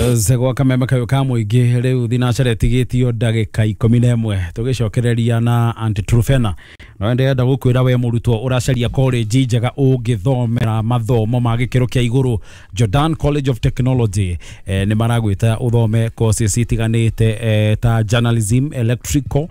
Gwa kameme kayo ka mũingĩ rĩu thinacara ĩtigĩtio ndagĩka 11 tũgĩcokereria na Aunty Truphena. No ndĩrenda gũkwĩra we mũrutwo ũracaria college njega ũngĩthomera mathomo ma gĩkĩro kĩa igũrũ, Jordan College of Technology nĩ maragwĩta ũthome courses itiganĩte ta journalism, electrical,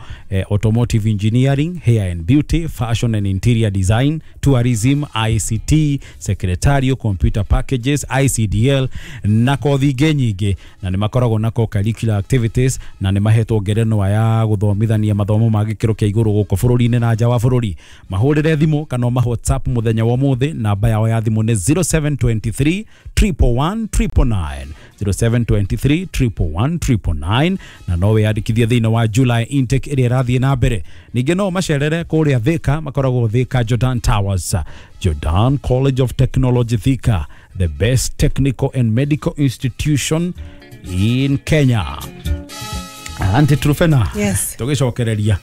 automotive engineering, hair and beauty, fashion and interior design, tourism, ICT, secretarial, computer packages, ICDL na kothi ingĩ nyingĩ, na nĩ makoragwo na co-curricular activities na nĩ mahetwo ngerenwa ya gũthomithania mathomo ma gĩkĩro kĩa igũrũ gũkũ bũrũri-inĩ na nja wa bũrũri. Mahũrĩre thimũ kana ũma WhatsApp mũthenya wa ũmũthĩ, namba yao ya thimũ nĩ 0723 111 999, 0723 111 999, na no wĩyandĩkithie thĩinĩ wa July intake ĩrĩa ĩrathiĩ na mbere. Ningĩ no macerere kũrĩa Thika, makoragwo Thika Jordan Towers. Jordan College of Technology Thika, the best technical and medical institution in Kenya. Aunty Truphena. Yes. Tũgĩcokereria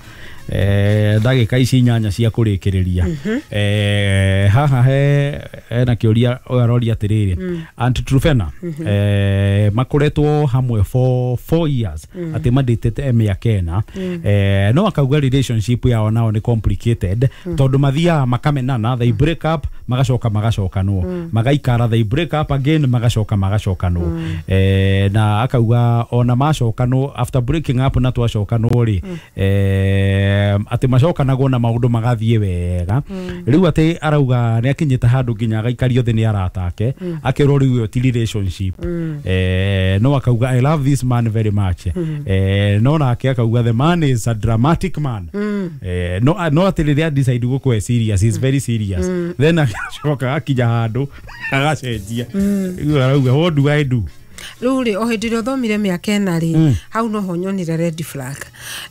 ndagĩka ici 8 cia kũrĩkĩrĩria, haha he hena kĩũria ũyũ aroria atĩrĩrĩ, Aunty Truphena, makoretwo hamwe for 4 years, atĩ mandĩtĩte mĩaka 4, no akauga relationship yao nao nĩ complicated tondũ mathiaga makamenana, they break up, magacoka magacokanwo, magaikara, they break up again, magacoka magacokanwo, na akauga ona macokanwo, after breaking up na twacokanwo rĩ, atĩ macokanagwo na maũndũ magathiĩ wega. Rĩu atĩ arauga nĩ akinyĩte handũ nginya agaikario thĩ nĩ arata ake, akerwo rĩu ĩyo ti relationship, no akauga, "I love this man very much," no nake akauga the man is a dramatic man, no atĩ rĩrĩa decide gũkwe serious, he's very serious, then agacoka akinya handũ agacenjia. Rĩu arauga, "What do I do?" Rĩu rĩ, o hĩndĩ ĩrĩa ũthomire mĩaka 4 rĩ, hau noho nyonire red flag,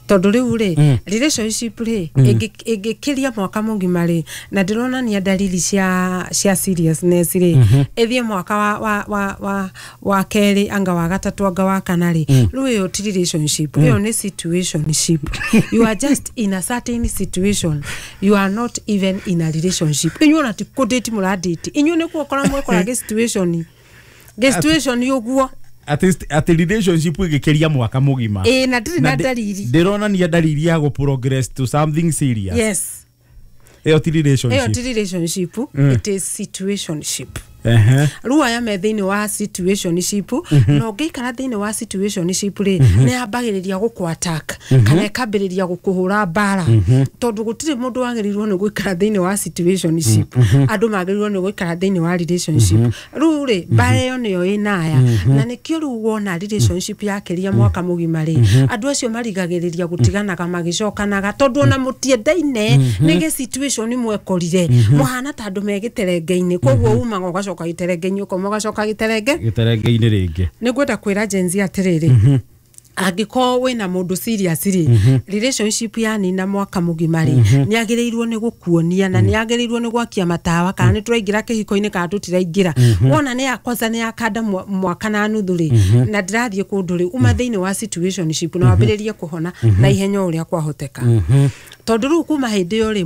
tondũ rĩu rĩ, relationship rĩ, ĩngĩkĩria mwaka mũgima rĩ, na ndĩronania dalili cia seriousness rĩ, ĩthiĩ mwaka wa kerĩ, anga wa gatatũ, anga wa kana rĩ, rĩu ĩyo ti relationship, ĩyo nĩ situationship. You are just in a certain situation, you are not even in a relationship. Inyuĩ ona ti kũdate mũradate, inyuĩ nĩ kuokora mwekora gĩ situation, gĩ situation ũguo. Atĩ relationship ĩgĩkĩria mwaka mũgima Ĩĩ, na ndĩrĩ na dalili. Ndĩronania dalili ya gũ progress to something serious, ĩyo ti Ĩyo relationship. Ti relationship, it is situationship. Rĩu aya me thĩinĩ wa situationship, na ũngĩikara thĩinĩ wa situationship rĩ, nĩ yambagĩrĩria gũkũ attack kana ĩkambĩrĩria gũkũhũra mbara, tondũ gũtirĩ mũndũ wagĩrĩirwo nĩ gũikara thĩinĩ wa situationship. Andũ magĩrĩirwo nĩ gũikara thĩinĩ wa relationship. Rĩu rĩ, mbara ĩyo nĩyo ĩnaya, na nĩkĩo rĩu wona relationship yakĩria mwaka mũgima rĩ, andũ acio marigagĩrĩria gũtiganaga magĩcokanaga, tondũ ona mũtiendaine, nĩ gĩ situation mwekorire mũhana ta andũ me gĩterenge-inĩ. Koguo umaga ũgacoka gĩterenge-inĩ, ũkoma ũgacoka gĩterenge Gĩterenge-inĩ rĩngĩ. Nĩ ngwenda kwĩra Gen Z atĩrĩrĩ, angĩkorwo wĩna mũndũ serious rĩ, relationship yanina mwaka mũgima rĩ, nĩ agĩrĩirwo nĩ gũkuonia na nĩ agĩrĩirwo nĩ gwakia matawa kana nĩ tũraingĩra kĩhiko-inĩ kana tũtiraingĩra. Wona nĩ ya kwanza nĩ yakanda mwaka na nuthu rĩ, na ndĩrathiĩ kũndũ rĩ, uma thĩinĩ wa situationship na wambĩrĩrie kũhona na ihenya o ũrĩa kwahoteka, tondũ rĩu kuma hĩndĩ ĩyo rĩ,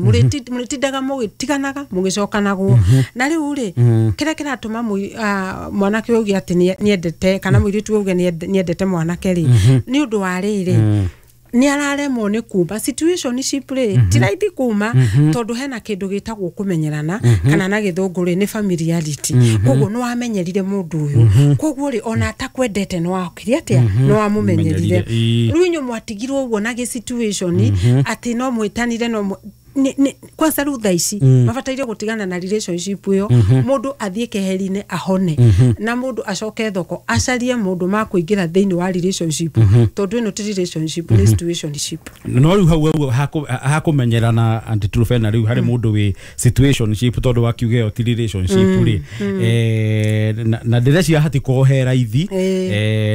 mũrĩtindaga mũgĩtiganaga mũgĩcokanagwo. Na rĩu rĩ, kĩrĩa kĩratũma mwanake auge atĩ nĩendete kana mũirĩtu auge nĩendete mwanake rĩ, nĩ ũndũ wa rĩrĩ, nĩ araremwo nĩ kuma situationship rĩ. Ti raithi kuma, tondũ hena kĩndũ gĩtagwo kũmenyerana, kana na gĩthũngũ rĩ, nĩ familiarity. Koguo nĩ wamenyerire mũndũ ũyũ, koguo rĩ, ona atakwendete nĩ wakire atĩa, nĩ wamũmenyerire. Menyerire, ĩĩ. Rĩu inyuĩ mwatigirwo ũguo na gĩ situation atĩ no mwĩtanire no kwanza rĩu thaa ici mabataire gũtigana na relationship ĩyo, mũndũ athiĩ keheri-inĩ ahone, na mũndũ acoke thoko acarie mũndũ makũingĩra thĩinĩ wa relationship, tondũ ĩno ti relationship, nĩ situationship. No rĩu hau hakũmenyerana, Aunty Truphena, rĩu harĩ mũndũ wĩ situationship, tondũ wakiuga ĩyo ti relationship rĩ, na ndĩreciria hatikorwo he raithi,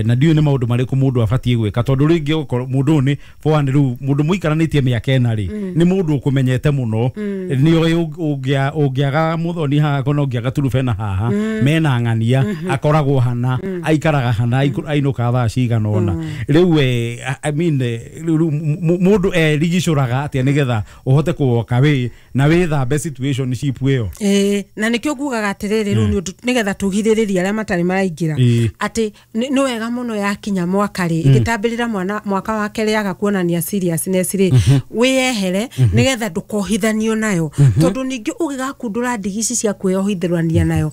na ndiũĩ nĩ maũndũ marĩkũ mũndũ abatiĩ gwĩka, tondũ rĩngĩ ũkorwo mũndũ ũyũ nĩ for one, rĩu mũndũ mũikaranĩtie mĩaka 4 rĩ, nĩ mũndũ ũkũmenyete. ũkũmenyete mũno nĩ ũĩ ũngĩaga Muthoni haha kana ũngĩaga Turubena haha mena ng'ania akoragwo hana aikaraga hana ainũkaga thaa cigana ũna rĩu I mean rĩu mũndũ erigicũraga atĩa nĩgetha ũhote kũwoka wĩ na wĩthambe situationship ĩyo. Ĩĩ, na nĩkĩo ngugaga atĩrĩrĩ rĩu nĩ ũndũ nĩgetha tũgirĩrĩrie arĩa matarĩ maraingĩra atĩ nĩ wega mũno yakinya mwaka rĩ ĩgĩtambĩrĩra mwana mwaka wa kerĩ yaga kuonania seriousness rĩ wĩyehere nĩgetha ndũkohithanio nayo tondũ ningĩ ũgĩgakundũra ndigi ici cia kwĩyohithania nayo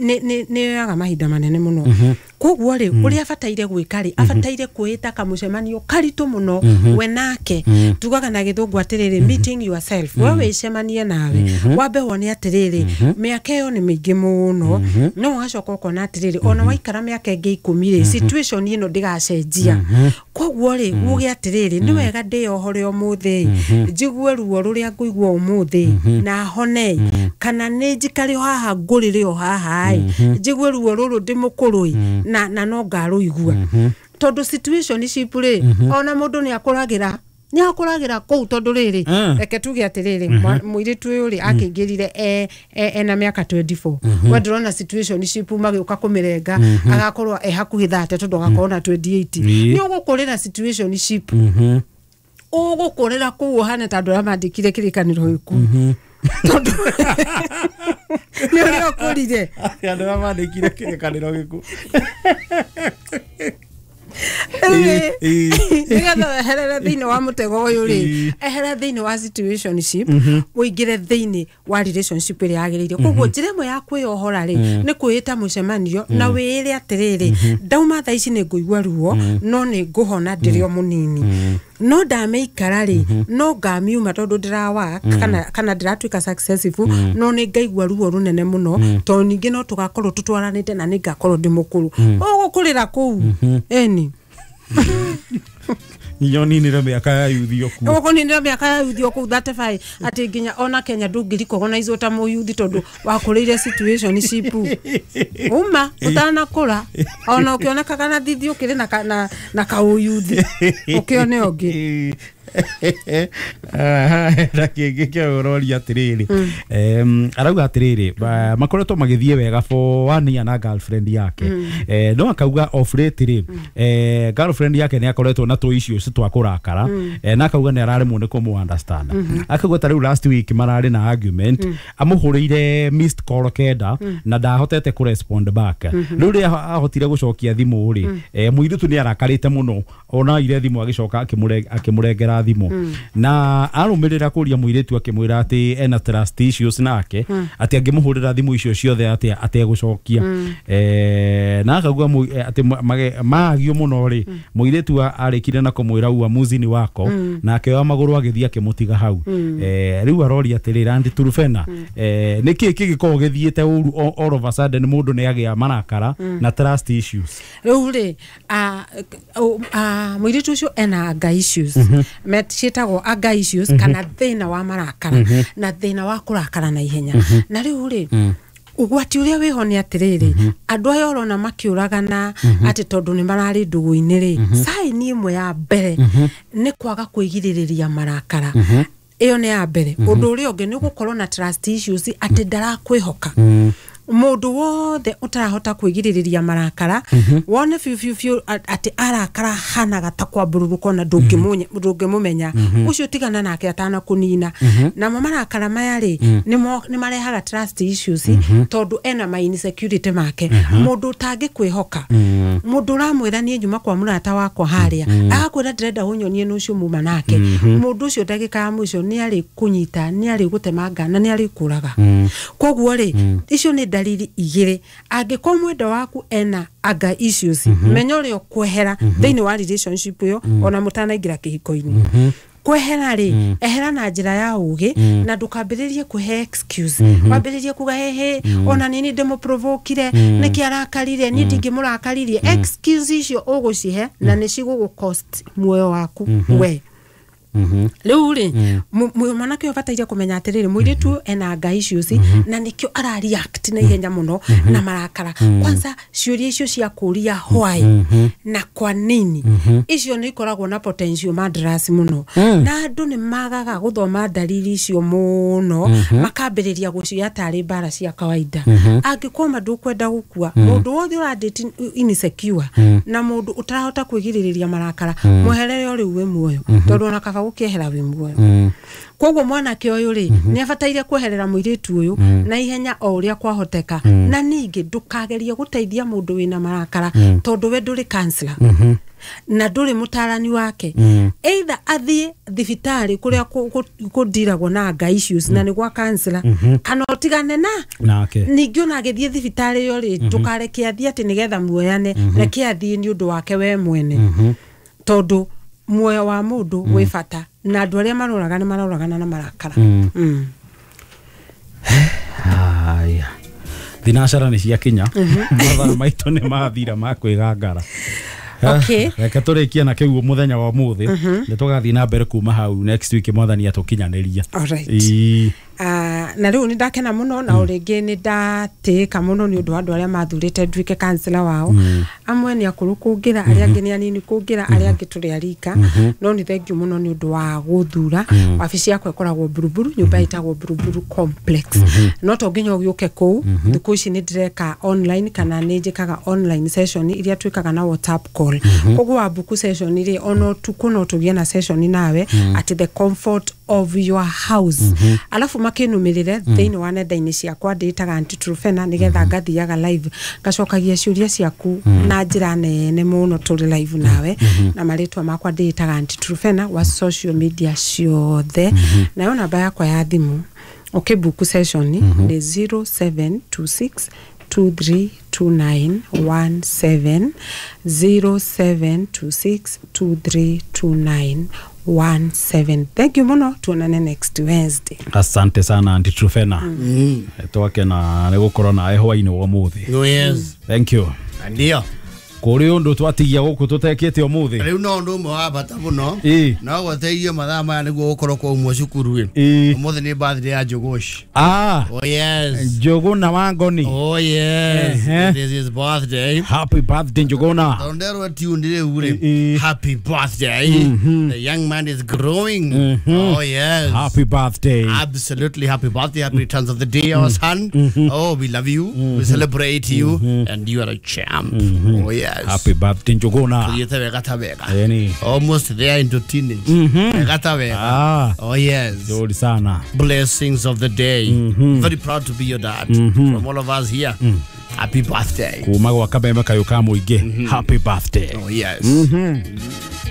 nĩ yoyaga mahinda manene mũno. Koguo rĩ ũrĩa abataire gwĩka rĩ abataire kwĩĩta kamũcemanio karitũ mũno we nake tugaga na gĩthũngũ atĩrĩrĩ meeting yourself we wĩcemanie nawe wambe wone atĩrĩrĩ mĩaka ĩyo nĩ mĩingĩ mũno no ũgacoka ũkona atĩrĩrĩ ona waikara mĩaka ĩngĩ 10 rĩ situation ĩno ndĩgacenjia. Koguo rĩ uge atĩrĩrĩ nĩ wega ndĩyohore ũmũthĩ njigue ruo rũrĩa ngũigua ũmũthĩ na hone kana nĩ njikare o haha ngũrĩre o haha ĩ njigue ruo rũrũ ndĩ mũkũrũ ĩ na no ngarũigua tondũ situationship rĩ ona mũndũ nĩ akũragĩra kũu tondũ rĩrĩ reke tuge atĩrĩrĩ mũirĩtu ũyũ rĩ akĩingĩrire ena mĩaka 24 we ndĩrona situationship magĩũka kũmĩrenga agakorwo e hakuhĩ 30 tondũ agakorwo na 28 nĩ ũgũkũrĩra situationship ũgũkũrĩra kũu ũhane ta andũ arĩa mandĩkire kĩrĩkanĩro gĩku tondũ nĩ ũrĩa ũkũrire andũ arĩa mandĩkire kĩrĩkanĩro gĩku nĩgetha weherere thĩinĩ wa mũtego ũyũ rĩ ehera thĩinĩ wa situationship ũingĩre thĩinĩ wa relationship ĩrĩa yagĩrĩire. Koguo njĩra ĩmwe ya kwĩyohora rĩ nĩ kwĩĩta mũcemanio na wĩĩre atĩrĩrĩ ndauma thaa ici nĩ ngũigua ruo no nĩ ngũhona ndĩrĩ o mũnini no ndamĩikara rĩ no ngamiuma tondũ ndĩrawa kana ndĩratuĩka successful no nĩ ngaigua ruo rũnene mũno tondũ ningĩ no tũgakorwo tũtwaranĩte na nĩ ngakorwo ndĩ mũkũrũ ũgũkũrĩra kũu ĩni nyoninire mĩaka ya yuthi okuo ũkũninire mĩaka ya yuthi okũu 35 atĩ nginya ona Kenya ndũngĩrikogonaizo ta mũyuthi tondũ wakũrĩire situationship uma ũtanakũra ona ũkĩonekaga na thithi ũkĩrĩ na kaũyuthi ũkĩone ũngĩ. Na kĩngĩ kĩa ũroria atĩrĩrĩ arauga atĩrĩrĩ makoretwo magĩthiĩ wega for 1 year na girlfriend yake no akauga off late rĩ girlfriend yake nĩ akoretwo na tũ issues twa kũrakara na akauga nĩ araremwo nĩ kũmũ understand akauga ta rĩu last week mararĩ na argument amũhũrĩire missed call 9 na ndahotete kũ respond back rĩu rĩrĩa ahotire gũcokia thimũ rĩ mũirĩtu nĩ arakarĩte mũno ona ire thimũ agĩcoka akĩmũrengera thimũ na arũmĩrĩra kũria mũirĩtu akĩmwĩra atĩ ena trust issues nake atĩ angĩmũhũrĩra thimũ icio ciothe atĩ ategũcokia na akauga atĩ maagio mũno rĩ mũirĩtu arĩkire na kũmwĩra uamuzi ni wako na akĩoya magũrũ agĩthiĩ akĩmũtiga hau. Rĩu aroria atĩrĩrĩ Aunty Turubena nĩkĩĩ kĩngĩkorwo gĩthiĩte ũru all of a sudden mũndũ nĩ agĩa marakara na trust issues? Rĩu rĩ mũirĩtu ũcio ena anger issues ciĩtagwo anger issues kana thĩna wa marakara na thĩna wa kũrakara na ihenya na rĩu rĩ ũgwati ũrĩa wĩho nĩ atĩrĩrĩ andũ aya ũrona makĩũragana atĩ tondũ nĩ mararĩ ndũgũ-inĩ rĩ sign ĩmwe ya mbere nĩ kwaga kwĩgirĩrĩria marakara ĩyo nĩ ya mbere. Ũndũ ũrĩa ũngĩ nĩ gũkorwo na trust issues atĩ ndarakwĩhoka mũndũ wothe ũtarahota kwĩgirĩrĩria marakara wone biũ biũ biũ atĩ arakara hanaga ta kwambũrũrũka ona ndũngĩmũmenya ũcio tigana nake atanakũnina. Namo marakara maya rĩ nĩ marehaga trust issues tondũ ena ma insecurity make mũndũ ũtangĩkwĩhoka mũndũ ũramwĩra niĩ nyuma kwa mũrata wakwa harĩa agakwĩra ndĩrenda ũnyonie nĩ ũcio muma nake mũndũ ũcio ndagĩka ya mũico nĩ arĩ kũnyita nĩ arĩ gũtemanga na nĩ arĩ kũraga. Koguo rĩ icio nĩ dalili igĩrĩ angĩkorwo mwendwa waku ena anger issues menya ũrĩa ũkwehera thĩinĩ wa relationship ĩyo ona mũtanaingĩra kĩhiko-inĩ. Kwehera rĩ ehera na njĩra ya ũgĩ na ndũkambĩrĩrie kũhe excuse wambĩrĩrie kuga hehe ona nini ndĩmũprovokire nĩkĩ arakarire niĩ ndingĩmũrakaririe excuse icio ũgũcihe na nĩ cigũgũ cost muoyo waku we. Rĩu rĩ, mwanake ũyũ abataire kũmenya atĩrĩrĩ, mũirĩtu ena nga issues na nĩkĩo ara react na ihenya mũno na marakara. Kwanza ciũria icio cia kũria why na kwa nini, icio nĩ ikoragwo na potential madras mũno, na andũ nĩ magaga gũthoma dalili icio mũno, makambĩrĩria gũcioya tarĩ mbara cia kawaida. Angĩkorwo ma ndũkwenda gũkua, mũndũ wothe ũrandĩti insecure na mũndũ ũtarahota kwĩgirĩrĩria marakara, mweherere o rĩu wĩ muoyo, tondũ ona kaba gũkĩehera wĩ muoyo. Koguo mwanake ũyũ rĩ, nĩ abataire kweherera mũirĩtu ũyũ na ihenya o ũrĩa kwahoteka. Na ningĩ ndũkagerie gũteithia mũndũ wĩna marakara, tondũ we ndũrĩ counselor na ndũrĩ mũtarani wake. Either athiĩ thibitarĩ kũrĩa kũndiragwo na nga issues na nĩ gwa counselor, kana ũtigane na nake. Ningĩ ona agĩthiĩ thibitarĩ ĩyo rĩ, ndũkareke athiĩ atĩ nĩgetha muoyane, reke athiĩ nĩ ũndũ wake we mwene, tondũ muoyo wa mũndũ wĩ bata, na andũ arĩa maroraga nĩ maroragana na marakara. Haya, thinacara nĩ ciakinya, mathaa maitũ nĩ mathira ma kwĩgangara. Okay. Reke tũrĩkie na kĩu mũthenya wa ũmũthĩ, nĩ tũgathiĩ na mbere kuma hau next week mwathani atũkinyanĩria. Alright. Ĩĩ. Na rĩu nĩ ndakena mũno, na o rĩngĩ nĩ ndatĩĩka mũno nĩ ũndũ wa andũ arĩa mathurĩte nduĩke counselor wao. Amwe nĩ akũrũ kũngĩra, arĩa angĩ nĩ anini kũngĩra, arĩa angĩ tũrĩ a rika, no nĩ thengiũ mũno nĩ ũndũ wa gũthura. Wabici yakwa ĩkoragwo Buruburu, nyũmba ĩtagwo Buruburu Complex. No to nginya ũgĩũke kũu, thikũ ici nĩ ndĩreka online, kana nĩ njĩkaga online session iria twĩkaga na WhatsApp call. Koguo wa book session rĩ, ona ũtukũ no tũgĩe na session nawe at the comfort of your house. Alafu makinumirire thĩinĩ wa nenda-inĩ ciakwa, ndĩtaga Aunty Truphena, nĩgetha ngathiaga live ngacokagia ciũria ciaku na njĩra nene mũno tũrĩ live nawe. Na marĩtwa makwa ndĩtaga Aunty Truphena wa social media ciothe. Nayo namba yakwa ya thimũ ũkĩbook session nĩ 0726 232917, 0726 232917. Thank you mũno, tuonane next Wednesday. Asante sana Aunty Truphena. Twakena nĩ gũkorwo nawe hwainĩ wa ũmũthĩ. Oh yes. Thank you. Ndio. Kũrĩ ũndũ twatigia gũkũ tũtekĩte ũmũthĩ? Rĩu no ũndũ ũmwe wa bata mũno, Ĩĩ. no gwateithio mathaa maya nĩguo gũkorwo kwaumwo cukuru ĩ. Ĩĩ. Ũmũthĩ nĩ birthday ya Njũgũci. Ah. Oh yes. Njũgũna wa Ngoni. Oh yes. Ehe. It is his birthday. Happy birthday Njũgũna. Tondũ nderwo tune rĩu rĩ. Ĩĩ. Happy birthday. The young man is growing. Oh yes. Happy birthday. Absolutely happy birthday, happy returns of the day, our son. Oh, we love you. We celebrate you, and you are a champ. Oh yes. Happy birthday Njũgũna. Thiĩte wega ta wega. Ĩni. Almost there into teenage. Wega ta wega. Ah. Oh yes. Nzuri sana. Blessings of the day. Very proud to be your dad. From all of us here. Happy birthday. Kuma gwa Kameme kayũ ka mũingĩ. Happy birthday. Oh yes.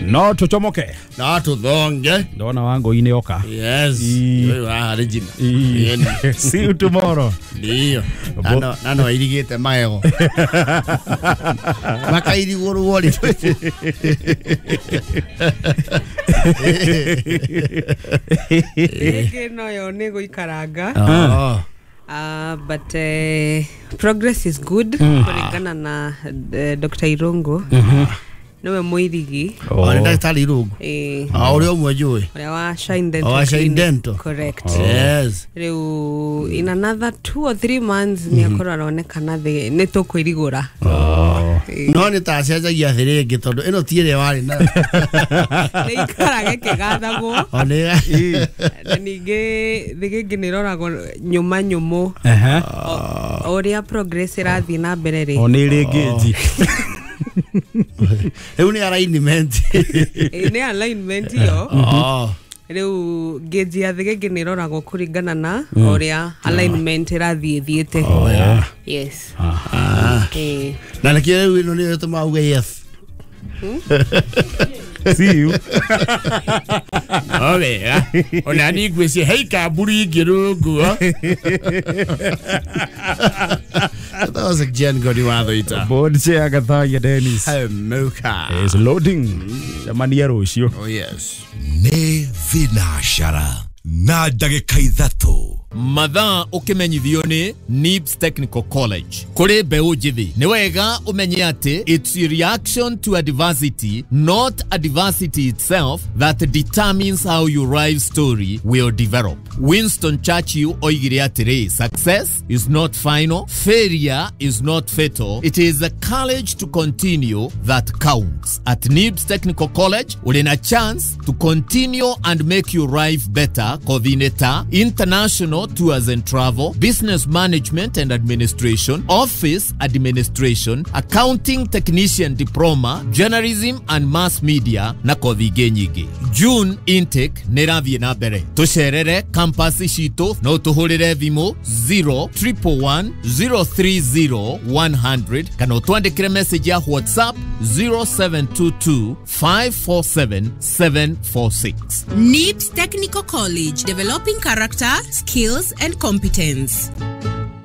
No tũcomoke. Na tũthonge. Ndona Wangũi oka. Yes. Ii. Ũyũ haha Regina. Ii. Ĩni. See you tomorrow. Ndio. Nano airigĩte magego. Makairigũrwo rĩ. Rĩngĩ noyo nĩ gũikaranga. Oh. But progress is good kũringana na Dr. Irungu. Nĩwe mũirigi. Oh, nĩ ndagĩtarĩ Irungu. Eh, Ah, ũrĩa ũmwe njũĩ. ũrĩa wa Shine Dental. Oh, wa Shine Clinic. Dental. Correct. Yes. Rĩu in another 2 or 3 months nĩ akorwo aronekana nĩ tũkwĩrigũra. No nĩ ta acenjagia thĩ rĩngĩ tondũ ĩno ti ĩrĩa warĩ nayo. Nĩ ikaraga ĩkĩgathagwo. O nĩ Na ningĩ thĩgĩngĩ nĩ ĩroragwo nyũma nyũmũ. Ehe. O ũrĩa progress ĩrathiĩ na mbere rĩ. O nĩ rĩ ngĩnji. Rĩu nĩ alignment. Ĩ, nĩ alignment ĩyo. Oh. Rĩu ngĩnji ya thĩgĩngĩ nĩ ĩroragwo kũringana na ũrĩa alignment ĩrathiĩ ĩthiĩte. Yes. Ah. Ĩ. Na nĩkĩo rĩu ĩno nĩyo ĩtũmaga uge yes. See you. No wega. Ona niĩ ngwĩciria hei kamburi ingĩ rungu. That was a Jen Godi Wathoita. Board chair Gathaiya Dennis. Muka. Is loading. Cemania rũciũ. Oh yes. Nĩ thinacara na ndagĩka 3. Mathaa ũkĩmenyithio nĩ NIBS Technical College. Kũrĩ mbeũ njĩthĩ nĩ wega ũmenye atĩ it's your reaction to adversity, not adversity itself, that determines how your life story will develop. Winston Churchill oigire atĩrĩ, success is not final, failure is not fatal, it is the courage to continue that counts. At NIBS Technical College ũrĩ na chance to continue and make your life better kothi-inĩ ta international tours and travel, business management and administration, office administration, accounting technician diploma, journalism and mass media na kothi ingĩ nyingĩ. June intake nĩ ĩrathiĩ na mbere. Tũcerere campus citũ no tũhũrĩre thimũ 0111 030 100 kana ũtwandĩkĩre message ya WhatsApp 0722 547 746. NIBS Technical College, developing character, skills, and competence.